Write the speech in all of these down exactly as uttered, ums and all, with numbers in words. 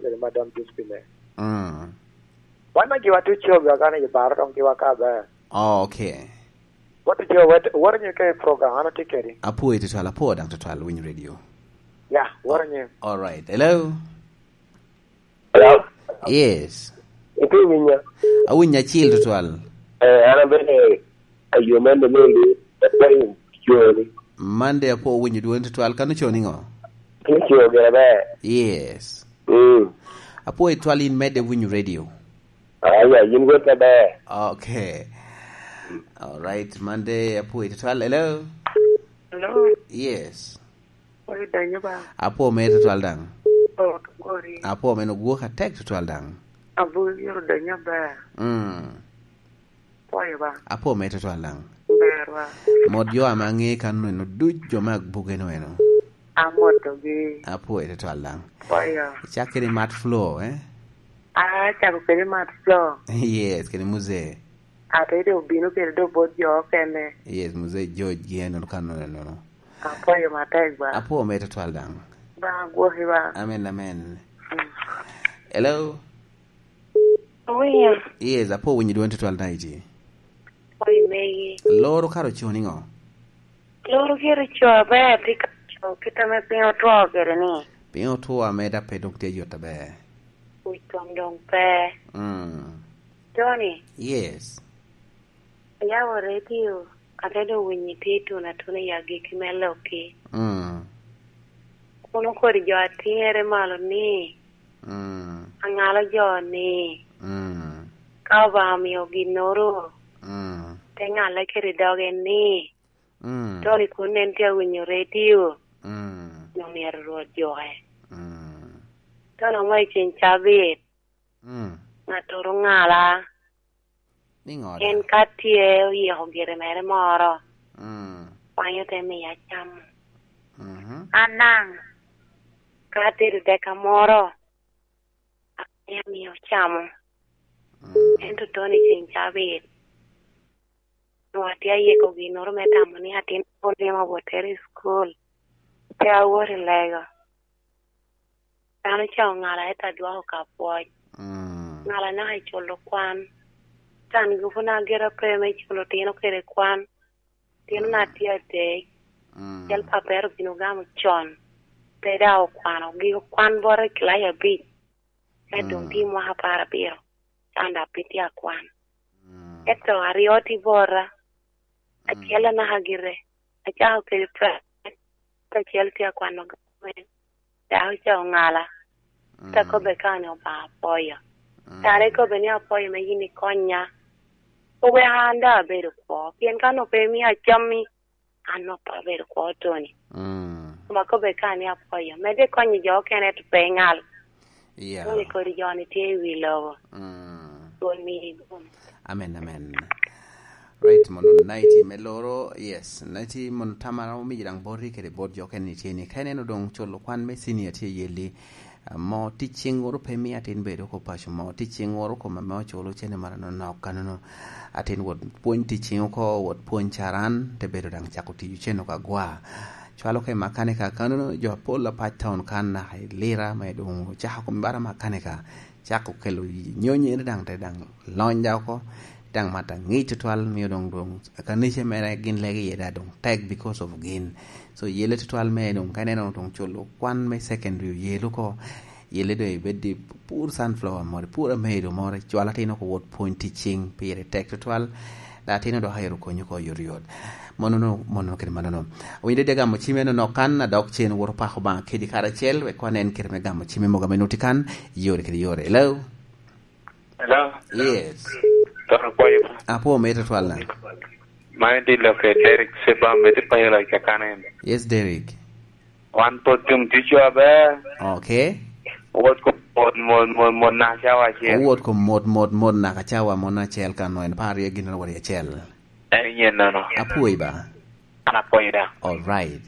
kede Madam Josephine. Mm. Wan a giwa tuco, giwa gane i baro dong giwa ka ber. Oh, okay. Watu jo wet, woro nyo ke program, ano tye kedi? Apwoyo tutwal, apwoyo daŋ tutwal, winyo radio. Ya, woro nyo. All right. Hello? Hello? Yes. Ito winya? Awinya acil tutwal. Eh, an abene ayo Mande Mende, apwoyo coni. Mande apwoyo winyo dwoni tutwal, kano coni ŋo? Tye co gire ber. Yes. Mm. Apwoyo tutwal in medde winyo radio. Aya, yin wot aber. Okay. All right, Mande apwoyo tutwal. Hello? Hello? Yes. Oyo donyo ba? Apwoyo mere tutwal daŋ. Oh, gori. Apwoyo mere ogwok atek tutwal daŋ. Abiro donyo ba? Mm. Pwoyo ba? Apwoyo mere tutwal daŋ. Ber ba? Mot jo ame aŋe kan eno duc jo me agbuke no eno. Amotogi. Apwoyo tutwal daŋ. Pwoyo. Icak kede Mat Flo, eh? Ah, acako kede Mat Flo. Yes, kede Muzee. Ate do obino kede do bot jo okene. Yes, Muzee George gi eno kan eno. Apwoyo matek ba. Apwoyo mere tutwal daŋ. Ba gwoki ba. Amen, amen. Mm. Hello? Owinyo. Yes, apwoyo winyo dwoni tutwal daŋ iti. Pwoyo megi. Loro kara ocoo niŋo? Loro gire co aber, tye ka co kit ame piny otwo kede ni. Piny otwo ame dok pe dok tye yot aber. Wic kom dong pe. Mm. Tony. Yes. Ayabo redio, ate dong winyo itye ituno atuna i agikki me lokki. Mm. Kono kodi jo atiŋere malo ni, mm, aŋalo jo ni, mm, ka Obaŋa omio ginnoro, mm, te ŋalle kede doge ni, mm, Tony kun en tye awinyo redio, mm, nyo myero Rwot juke. Mm. Tony omo i ceng cabit, mm, ŋattoro ŋala. Niŋo da? En ka tye oyiko gire mere moro, mm, kwanyo te miya camo. Mhm. An daŋ, ka atedo deka moro, amio, amio camo. Mm. Ento Tony ceng cabit, nwoŋo atye ayiko ginnoro me tamo ni atin olima bot tere i cukul, pe awot i lego. Dano ca oŋala, ento adwoko ka pwoc. Mm. Ŋala naka i culo kwan. Can gupu na gira pe me culo tino kede kwan. Tino na, mm, tye adek. Mm. Cel papere obino gamo con. Pe daŋ okwano. Giko kwan bot i kilaci abic. Ento, mm, doŋ tye mwaka apar abiro. Can daŋ pe tye akwan. Mm. Ento aryo tye bota. Mm. Acel anaka gire. Acako kede private. Acel tye akwano gamente. Dako ca oŋala. Mm. Te kobbe ka ni Obaŋa apwoyo. Mm. Kare kobbe ni apwoyo me yin ikonya. Oweko an daŋ abedo kwo. Pien ka nwoŋo pe imio acammi, an nwoŋo pe abedo kwo, Tony. Mm. Koma kobbe ka ni apwoyo. Medde konyo jo okene, ento pe iŋal. Yeah. Tony kodi jo ni tye i wi lobo. Mm. Dwon miri dwon. Amen, amen. Right, mono night me loro, yes. Night mono tamara omiyo daŋ boti kede bot jo okene ni tye ni. Ka ineno doŋ culo kwan me senior tye yeli, ah, mo ticciŋ woro pe mi atin bedo ko paco mo. Ticciŋ woro kome me oculo cene mara nonok kanono. Atin wot pwony ticciŋ oko, wot pwony caran, te bedo daŋ cako tiyo cene oko agwa. Cwalo ka i makanika kanono, jo apol apac taun kan naka i Lira me doŋ ocako kome bara makanika. Cako kelo nyonyere daŋ te daŋ lony daŋ oko, daŋ mat aŋic tutwal, mio doŋ, doŋ kanica mere gin lege iye daŋ doŋ tek because of gin. So, yele tutwal me doŋ, ka ineno doŋ culo kwan me secondary oyelo oko, yele doŋ ibed i pur sunflower moro, pur amedo moro, icwal atin oko wot pwony ticciŋ, pire tek tutwal, dok atin dok ayero konyi oko yot yot. Monono, monono kede manono. Awinyo dede gamo cimme nonok kan, adok cen woto pako Obaŋa kedi karacel, wek wan en kite me gamo cimme mogo ame nuti kan, yore kede yore. Hello? Hello? Yes. Toro kwayo. Apo, me tutwal na. Man di loke Derek Seba, me ti payo la kakane. Yes, Derek. Wan po tum tico aber. Okay. Wot ko mot, mot, mot, mot na cawa acel. Wot ko mot, mot, mot na ka cawa mot na acel kan no, en par ye gin wari acel. En yen nono. Apwoyi ba. An apwoyi da. All right.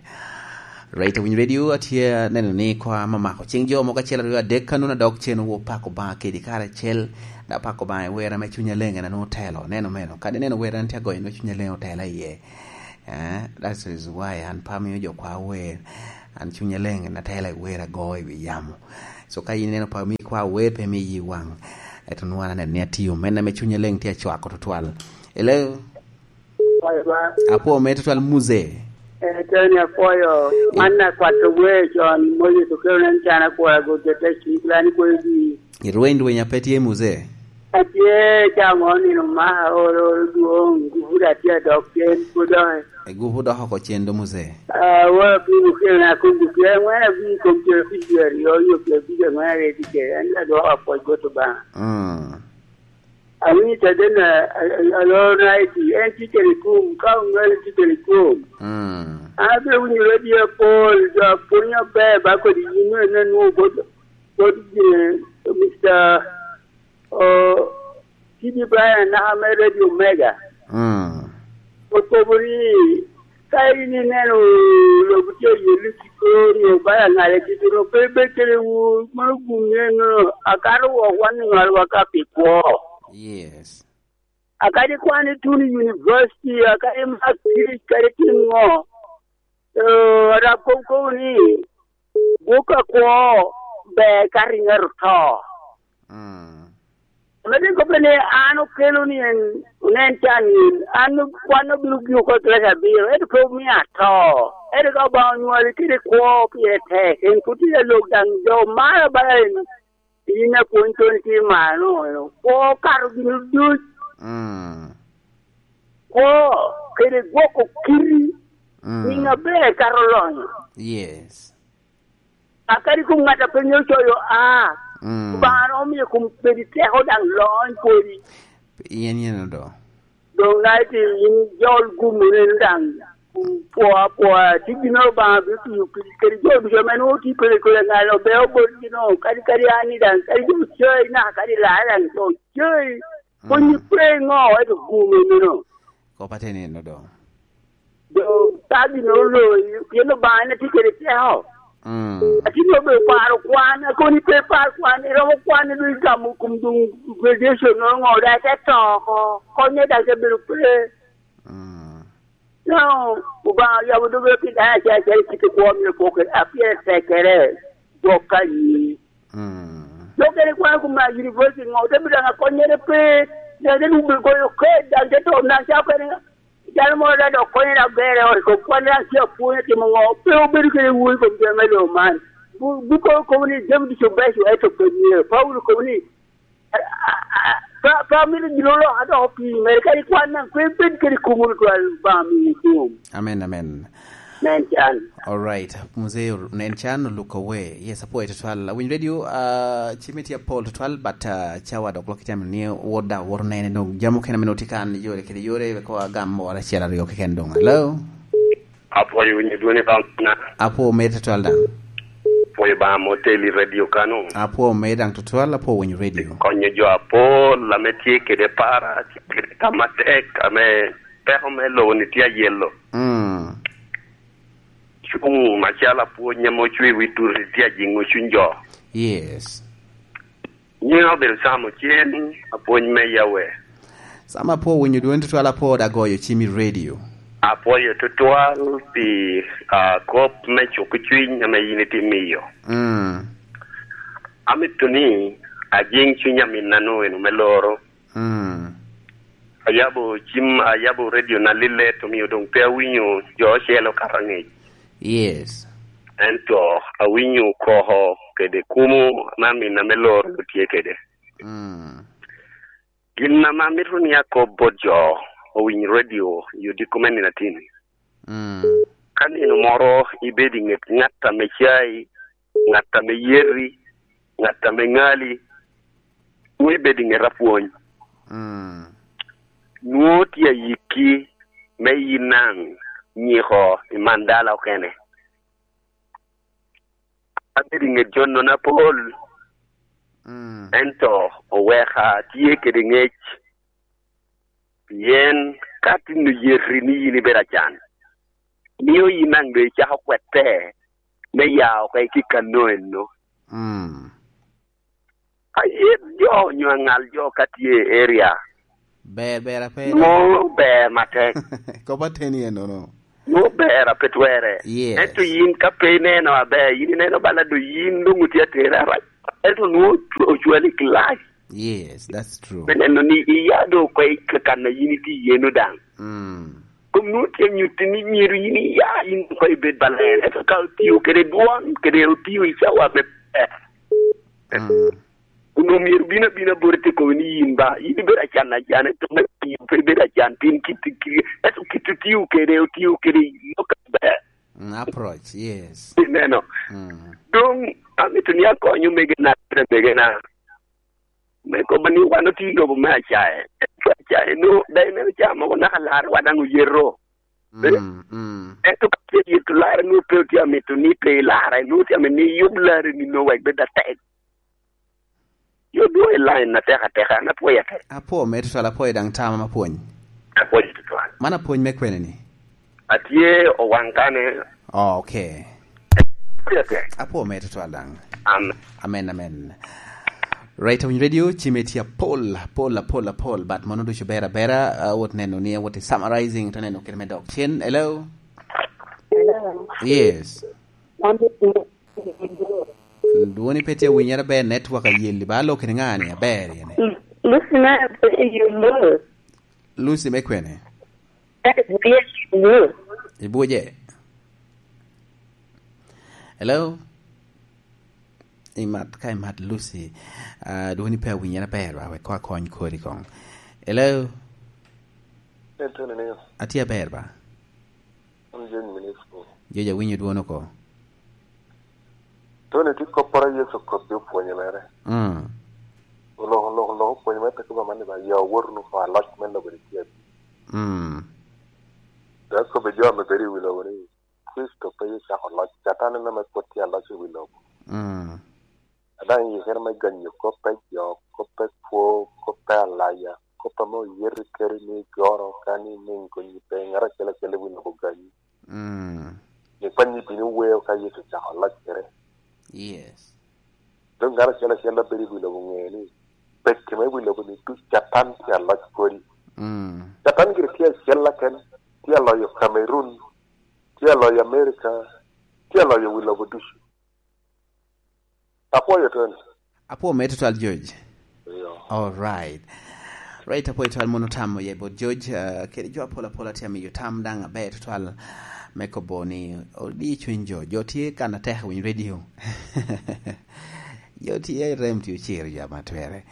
Right, Winy Radio, atye neno ni kwa mamako cing jo mogo acel aryo adek ka nuna dok cen wo pako Obaŋa kedi karacel. Da pako Obaŋa i wera me Cuny Aleng en anwo telo. Neno meno. Kadi neno wera an tye agoyo nwo Cuny Aleng otela iye. Eh, that is why an pa miyo jo kwa wer. An Cuny Aleng en atela i wer ago i wi yamo. So ka in ineno pa mi kwa wer pe mi yi waŋ. Eto nwa aneno ni atio men ame cunye leng tye acwako tutwal. Hello? Apwo me tutwal muze. Eh, Tony apwoyo. Man na kwato wer con, Moses okelo nen can akwora go jete cik lan kweyo gi. Irweny rweny ape tye muze. Atye camo nino maka oro oro dwong, gubuda tye adok cen pwod doŋe. Egubu dok oko cen do muze. Ah, wa pimo kelo na kom gupi angwen abi kom cen abic dwe aryo, yo pi abic angwen aryo tye kede, en adwoko apwoc bot Obaŋa. Mm. Awinyo caden a, a, a, alor na iti, en tye kede kum, ka oŋeo tye kede kum. Mm. An abino winyo radio apol, jo apwony aber, ba kodi yin me, me nwoŋo bot, bot, eh, Mister, oh, T D Brian, naka me Radio Mega. Mm. Okobo ni, ka in ineno lobo tye yello kiko, nyo bala ŋale kiko, pe ibed kede wu, mano gum ni eno, akato wok wan i ŋolwa ka pi kwo. Yes. Akadi kwan ituno i university, akadi imak tic, kadi itim ŋo. Eh, Arab kom kobo ni, gwok akwo ber ka riŋo oto. Mm. Ame rik kobbe ni an okelo ni en, onen can ni, an kwan obino gin oko i kilaci abiro, ento pe omio ato. Ento ka Obaŋa onywali kede kwo pire tek, en pwod tye ka lok daŋ jo mara bala en. In apwony Tony tye malo, kwo kato gin duc. Mm. Kwo kede gwoko kiti, mm, niŋ aber kato lonyo. Yes. Akadi kom ŋat a pe ŋeo coyo a, mm, Obaŋa romo miyo kom bedi teko daŋ lony pwodi. Yen yen odo. Doŋ na iti in jol gum wunu en daŋ, pwo apwoya, tye ginnoro Obaŋa bino tiyo kede, kede jo ducu ame nwoŋo tye kede kede ŋal obe obotgi no, kadi, kadi an ni daŋ, kadi jo cai naka, kadi lara daŋ jo cai. Mm. Konyi pe ŋo, ento gum enino. Kop ateni eno doŋ. Doŋ ka ginnoro oloyi, pien Obaŋa en tye kede teko. Mm. Atin obedo paro kwan, akoni pe par kwan, iromo kwan, ibedo gamo kom doŋ graduation, nwoŋo ŋo, daŋ ite to oko, konye daŋ te bedo pe. Mm. No, Obaŋa yabo doge pi dano acel acel i kite kwo myero pwoke, a pire tekere, gwok ka nyi. Mm. Dok en ikwano kom a university ŋo, te bedo daŋ akonyere pe, daŋ te lubo goyo ked, daŋ te to, daŋ ca okene, Jal moro daŋ dok konye daŋ ber i ot, kom kwan daŋ tye apwony atimo ŋo? Pe obedo kede wun i kom jami me lobo man. Bu-, Buko kobo ni jami ducu beco, ento pe myero. Paulo kobo ni, a, a, a, pe, pe amito gin olok adoko pii mere, kadi kwan daŋ pe bed kede kum wunu twal, Obaŋa miyi kum. Amen, amen. Nen can. All right. Mzee, nen can, oluko we. Yes, apwoyo tutwal. Awinyo radio, ah, cime tye apol tutwal, but, ah, cawa dok lok itemo ni wot da wot nene dong. Jam okene meno tye kan yore kede yore, ko agam wala acel aryo keken dong. Hello? Apwoyo winyo dwoni Bamna. Apwo mer tutwal daŋ. Apwoyo ba mo teli radio kano. Apwo mer daŋ tutwal, apwo winyo radio. Konyo jo apol, ame tye kede para, tye kede tam atek, ame peko me lobo ni tye ayelo. Mm. Cuŋ macalo apwony ame ocwe wi turi tye ajiŋo cuny jo. Yes. Nyiŋa obedo Sam Ocen, apwony me Yawe. Sam apwo winyo dwoni tutwal, apwo da goyo cim i radio. Apwoyo tutwal pi, ah, kop me cuko cuny ame yin itye miyo. Mm. Amito ni ajiŋ cuny aminna-nu eno me loro. Mm. Ayabo cim, ayabo radio na lilet, omio doŋ pe awinyo jo ocele okato aŋec. Yes. Ento awinyo koko kede kumo ame aminna me loro tye kede. Mm. Gin ame amito ni akob bot jo owiny radio i odiko me nino atini. Mm. Ka nino moro ibedo i ŋet ŋat ame cai, ŋat ame yeti, ŋat ame ŋali, nwoŋo ibedo i ŋet apwony. Mm. Nwoŋo tye ayikki me yin naŋ nyiko i man dala okene. Abedo i ŋet jo nono apol, mm, ento oweka tye kede ŋec, pien ka tin oyeti ni yin ibedo acan, mio yin daŋ doŋ icako kwette me ya oko i kano eno. Mm. Ayet jo onyo aŋal jo ka tye i area. Ber, ber ape. Nwoŋo ber matek. Kop ateni enono. Nwoŋo ber ape twere. Yes. Ento yin ka pe ineno aber, yin ineno bala do yin doŋ otye atere arac. Ento nwoŋo ocwali i kilac. Yes, that's true. Me neno ni iya doŋ oko i kan a yin itye iye-nu daŋ. Mm. Kom nwoŋo tye nyutti ni myero yin iya, yin oko ibed baler. Ento ka otio kede dwon, kede otio i cawa me ber. Mm. Onwoŋo myero bin abina bot ite kobo ni yin ba, yin ibedo acan acan, ento me yin pe ibedo acan, tin kit, kit, ento kit otio kede, otio kede lok aber. Mm, approach, yes. Ineno? Mm. Doŋ, amito ni akony omegena, omegena. Me kobo ni wan otye i lobo me acaye. Ento acaye no, daŋ ineno ca mogo naka larwa daŋ oyeto. Mm, mm. Ento ka tye yeto larre, nwoŋo pe otye amito ni pe ilarre, nwoŋo tye amito ni iyub larre ni nwoŋo wek bed atek. Yo dwoŋ i line atek ateka, an apwoyo atek. Apwo me tutwal, apwoyo daŋ tama ma pwony. Apwoyo tutwal. Man apwony me kwene ni? Atye owaŋ kane. Oh, okay. Apwoyo atek. Apwo me tutwal daŋ. Amen. Amen, amen. Right, Awiny Radio, cime tye apol, apol, apol, apol, but mono ducu ber abera, awot neno ni awot i summarizing, to neno kede me dok cen. Hello? Hello? Yes. Dwoni pe tye awinyere aber, network ayeli, ba alo kede ŋa ni aber yene? Lucy, na, you lose. Lucy me kwene? That is really good. Ibuje. Hello? Imat, ka imat Lucy, ah, dwoni pe awinyere aber ba, wek ko akony kodi koŋ. Hello? Atye aber ba? An Jony Minisco. Jony, awinyo dwon oko. Tony, tye kopporo a Yecu okobbi opwonyo mere. Mm. Oloko, oloko, oloko opwonyo mere, te kobo amanni ba, "Ya owotu wunu oko, aloc me lobo-ni tye abino." Mm. Dok kobbi jo ame bedo i wi lobo ni, Kricito pe ocako loc, Catan en ame pwod tye aloc i wi lobo. Mm. A daŋ i kene me ganyo kop pe jo, kop pe kwo, kop pe alaya, kop ame oyeti kede ni goro ka ni niŋ gonyi pe, ŋat acel acel i wi lobo ganyi. Mm. Ni kwanyi bino weo ka Yecu ocako loc kede. Yes. Doŋ ŋat acel acel a bedo i wi lobo ŋe ni, pekki me wi lobo ni duc Catan tye aloc kodi. Mm. Catan gire tye acel aken, tye aloyo Cameroon, tye aloyo America, tye aloyo wi lobo ducu. Apwoyo Tony. Apwo me tutwal, George. Iyo. All right. Right, apwoyo tutwal, mono tam oye bot George, uh, kede jo apol apol atye amiyo tam daŋ aber tutwal me kobo ni odi cuny jo. Jo tye kan atek winy radio. Jo tye rem tye ociro jo ama twere.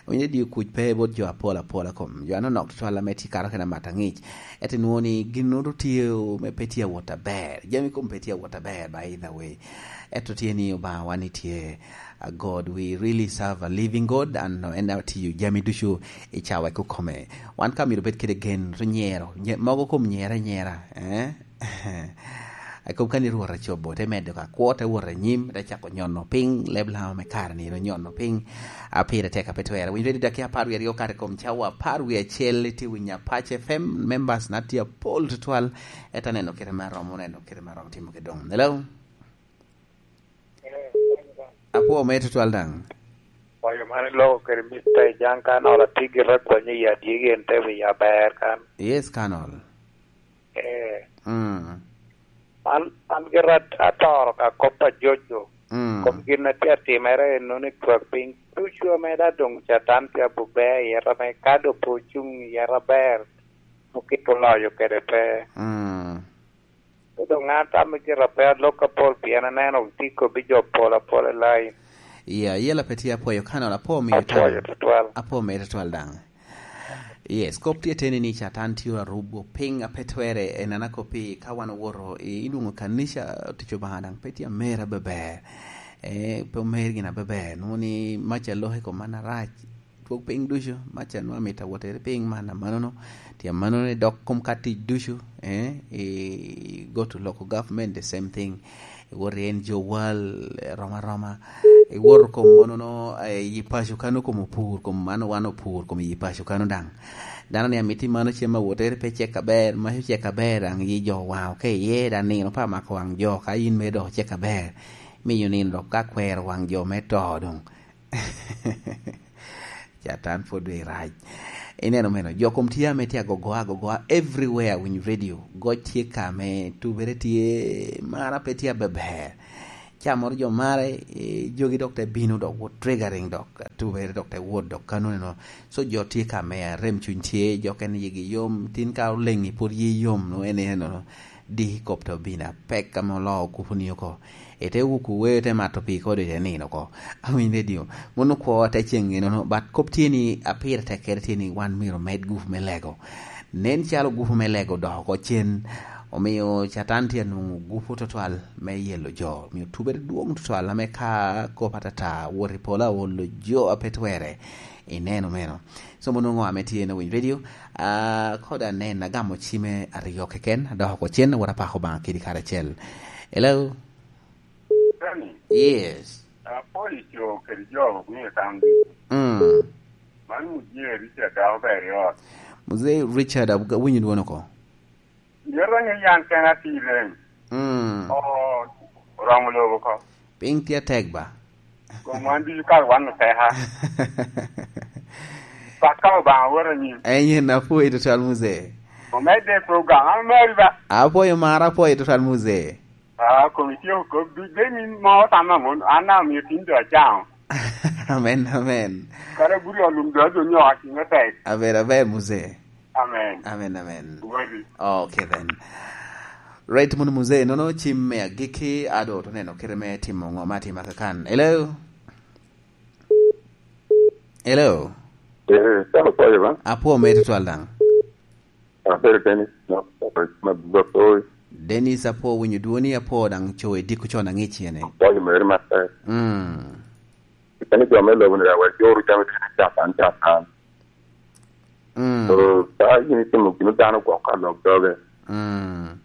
Winy radio kuc pe bot jo apol apol akom. Jo anonok tutwal ame tye kato kena mat aŋic. Ento inwoŋo ni gin nwoŋo tye o-, me pe tye awot aber. Jami kom pe tye awot aber, by either way. Ento tye ni Obaŋa wan ni tye, a God, we really serve a living God, and en atiyo jami ducu i cawa i kome. Wan ka myero obed kede gen, to nyero, nye-, mogo kom nyere anyera, eh? A kom ka ni Rwot acobo, te medo ka kwo, te wot anyim, te cako nyono piny, leb Lama me kare ni ro nyono piny, a pire tek a pe twere. Winy ready dakika apar wie aryo kare kom cawa apar wie acel, itye winyo Apac F M, members na tye apol tutwal, ento aneno kite me aromo, aneno kite me aromo timo ki doŋ. Hello? Apwo me tutwal daŋ. Kwayo man iloko kede Mister Ejaŋ Kanol, atye gira kwonyo i adyegi en te wiya aber kan. Yes, Kanol. Eh. Mm. An, an gira at-, atoro ka kop a Jojo. Mm. Kom gin a tye atimere en nwoŋo ni twak piny ducu ame da doŋ Catan tye abubbe i yet ame ka doŋ pe ocuŋ i yet aber, okito loyo kede pe. Mm. Doŋ an tamo cito pe alok apol, pien aneno tye kobbi jo pol apol i lain. Iya, yela pe tye apwoyo Kanol, apwo miyo tam. Apwoyo tutwal. Apwo miyo tutwal daŋ. Yes, kop tye teni ni Catan tye arubo piny a pe twere, en an akoppi ka wan owoto i, i lwoŋo kanica, tic Obaŋa daŋ pe tye amer abeber. Eh, pe omer gin abeber. Nwoŋo ni mac a lok i kom man arac. Twok piny ducu, mac a nwoŋo amito awotere piny man amanono, tye amanono i dok kom ka tic ducu, eh, i go to local government, the same thing. Iwoto i N G O World, eh, rom aroma. Iwoto kom monono, eh, i paco kano kom opur, kom man wan opur, kom i paco kano daŋ. Dano ni amito i mano cem awotere pe cek aber, mac ocek aber, daŋ yi jo waŋ oke iye, daŋ nino pe amako waŋ jo, ka in mere dok ocek aber, miyo nino dok ka kwero waŋ jo me to doŋ. Catan pwod doŋ irac. Ineno meno, jo kom tye ame tye agogoa agogoa everywhere, winyo radio. Goc tye ka me tubere tye, mara pe tye abeber. Ca moro jo mare, eh, jogi dok te bino, dok wot triggering, dok atubere dok te wot, dok kanone no. So jo tye ka me arem cuny tye, jo kene yigi yom, tin ka oleŋi pwod ye yom, no en eno, no. Diki kop te obino apek ame oloo kupu ni oko. Ete wuku weo, te mato pii kode, te nino oko. Awiny redio. Mon okwo ate ceŋ eno, no. But kop tye ni apire tek kede tye ni wan myero omed gupu me lego. Nen calo gupu me lego odoko oko cen. Omio Catan tye anwoŋo gupu tutwal me yelo jo. Omio tubere dwoŋ tutwal ame ka kop atata wot i polo aolo jo a pe twere. Ineno meno. So, mon onwoŋo ame tye na winy redio, ah, kod anen agamo cime aryo keken, adoko oko cen, awot apako Obaŋa kidi karacel. Hello? Tony, yes. Apwoyo co kede jo me County. Mm. Man Muzee Richard dok ober i ot. Muzee Richard, ab-, awinyo dwon oko. Yero ni yan kena tye i rem. Mm. Oo, oromo lobo oko. Piny tye atek ba? Kom wan ducu kare wan oteka. Paka Obaŋa wot anyim. Enyen apwoyo tutwal, Muzee. Omedde i program, an omeri ba. Apwoyo mara, apwoyo tutwal, Muzee. Ah, kom itye oko, bi-, be min mo tamma mon, an daŋ omio tin do acaŋo. Amen, amen. Kara buri olum do, do nyo akinyo tek. Aber, aber, Muzee. Amen. Amen, amen. Wadi. Okay, then. Right, mono Muzee, nono cim me agikki, ado to neno kite me timo ŋo ma atima kakan. Hello? Hello? Eh, kara kwayo ba? Apwo me tutwal daŋ. Abedo Dennis, no, ma, ma, ma, Dennis, apwo winyo dwoni, apwo daŋ co i diko con aŋic yene. Kwayo mere matek. Mm. Kene jo me lobo ni, wek joro jami tye Catan, Catan. Mm. So, ka in itimo gin dano gwok ka lok doge. Mm.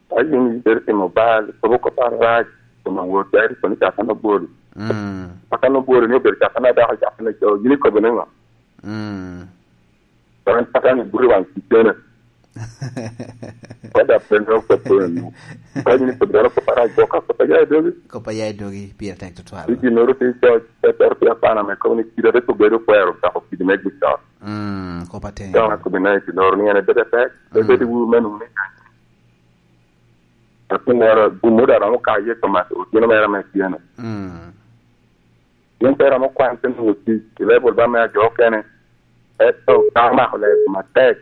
Ka in ibedo timo bal, kobo kop arac, koma wot, ya iri kono Catan obwolo. Mm. Catan obwolo ni obedo Catan adako, Catan aco, yin ikobo ni ŋo? Mm. An Catan ibute waŋ ticene. Kod apenyo kop eno. Ka yin ikobo dano kop arac gwok ka kop aya i dogi. Kop aya i dogi, pire tek tutwal. Pi ginnoro tye coc, pe tero pi apana me kobo ni kidi ate kobo bedo kwero dako kidi me gucok. Mm, kop atek. Dok akobo ni pi loro ni en ebedo atek, mm, ebedo wu me nwoŋo ni Atinere, gummo daŋ romo kaye Tomas, otino mere ame tyeno. Mm. Yin pe romo kwan te nwoŋo tic i level ba me ajo okene, ento ka omako ler matek.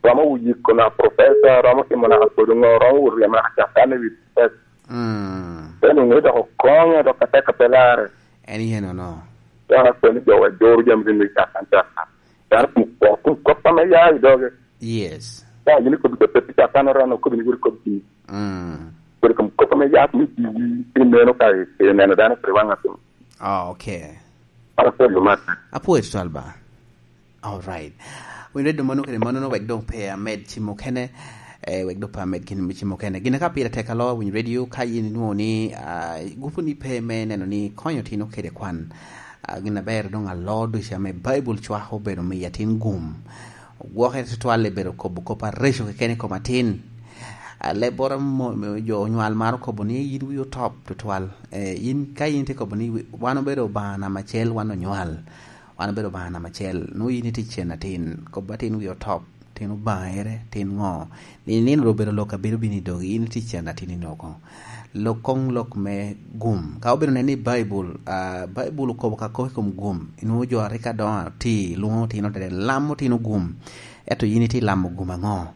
Romo wuyiko na professor, romo timo naka kodi ŋo, romo wot ryemo naka Catan i wi professor. Mm. Te nwoŋo ni dok okonyo, dok atek ape larre. En yen ono. Dok akwene jo wa joro jami rin i Catan, Catan. Dano kun kwo, kun kop ame ya i doge. Yes. Ya, yin ikobi kop pe Catan orono, okobi ni wot ikob pi. Mm. Kodi kom kop ame ya ni pi, pi neno ka i, i neno dano kede waŋ atum. Oh, okay. An apwoyo mat. Apwoyo tutwal ba. All right. Winy redo mano kede mano, wek dong pe amed cimo kene, eh, wek dong pe amed gin me cimo kene. Gin ka pire tek alo, winy redio, ka yin inwoŋo ni, ah, gupu ni pe me neno ni konyo tino kede kwan. Ah, gin aber dong alo ducu ame Baibul cwako obedo miyo atin gum. Gwoke tutwal i bedo kobo kop areco keken i kom atin. Ah, lebboro mo-, mo-, jo onywal maro kobo ni yin wi otop tutwal. Eh, yin, ka yin tye kobo ni wi-, wan obedo Obaŋa namba acel, wan onywal. Wan obedo Obaŋa namba acel. Nwoŋo yin itye cen atin. Kobo atin wi otop. Tin Obaŋere, tin ŋo? Ni nino ru obedo lok a bedo bino i dogi, in itye cen atin ino oko. Lok koŋ lok me gum. Ka obedo nen ni Baibul, ah, Baibul okobo ka kok i kom gum, inwoŋo jo a rik adoŋo oti, lwoŋo otino dede, lamo otino gum. Ento yin itye lamo gum aŋo?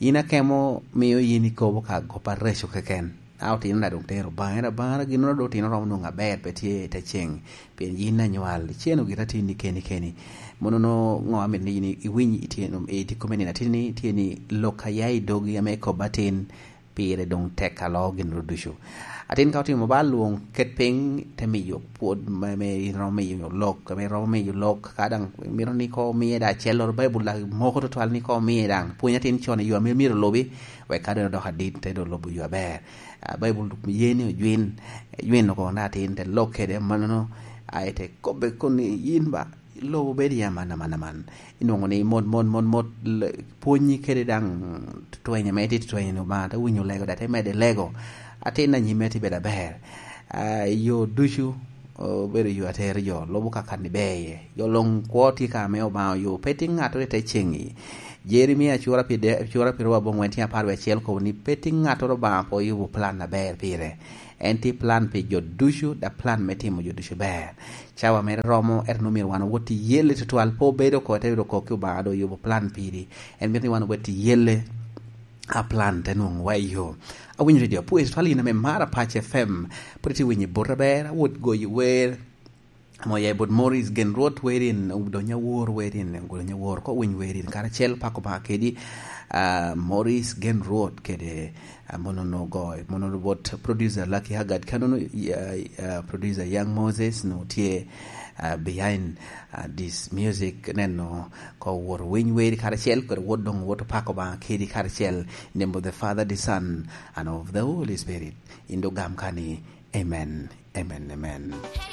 Yin akemo mio yin ikobo ka gop areco keken. A otino na doŋ tero baŋe, era baŋe, ginnoro doŋ otino romo nwoŋo aber, pe tye i te ceŋ. Pien yin anywal, iceno gira tin ni keni keni. Mono no ŋo amit ni yin iwiny i tyen, i diko me nino atin ni, tye ni lok a ya i dogi ame ikobo atin, pire doŋ tek alo ginnoro ducu. Atin ka otimo ba lwoŋ, ket piny, te miyo pwod me, me in romo miyo lok, ame romo miyo lok, ka daŋ mito ni ko omiye daŋ acelloro, Baibul daŋ moko tutwal ni ko omiye daŋ. Pwony atin con i yo ame myero olubi, wek ka doŋ odoko adit, te doŋ lubo yo aber. Ah, Baibul ye ni ojwin, ojwin oko na atin te lok kede mannono, a ite kobbe kun ni yin ba, lobo bedo ya man, man, man. Inwoŋo ni mot, mot, mot, mot, le-, pwonyi kede daŋ tweny ame itye tweny ni Obaŋa, te winyo lego, daŋ te mede lego. Atin anyime tye bedo aber. Ah, yo ducu, obedo yo atero jo, lubo ka kan iber iye. Jo luŋ kwo tye ka ame Obaŋa oyo, pe tye ŋattoro i te ceŋ-ŋi. Jeremia cura pi de-, cura pi ryo aboŋwen tye apar wie acel kobo ni, pe tye ŋattoro Obaŋa pe oyubo plan aber pire. En tye plan pi jo ducu, da plan me timo jo ducu ber. Cawa mere romo, ento nwoŋo myero wan owot i yelle tutwal, pe obedo oko, te bedo oko ki Obaŋa doŋ oyubo plan piri. En mito ni wan owot i yelle, a plan te nwoŋo wa i yo. Awinyo redio apwoyo tutwal, in ame mara Pac F M, pwod itye winyo i bot aber, awot goyo wer, amo ya i bot Morris Gen Rwot werin, Odonyo Awor werin, Odonyo Awor ko winy werin, karacel pako ba kedi, ah, Morris Gen Rwot kede, ah, mono no go, mono bot producer Lucky Haggard, kano no, ah, ah, producer Young Moses no tye, ah, behind, ah, this music, neno ko wot winy weri karacel kede wot doŋ wot pako ba kedi karacel, in the name of the Father, the Son, and of the Holy Spirit. In do gam kani, amen, amen, amen.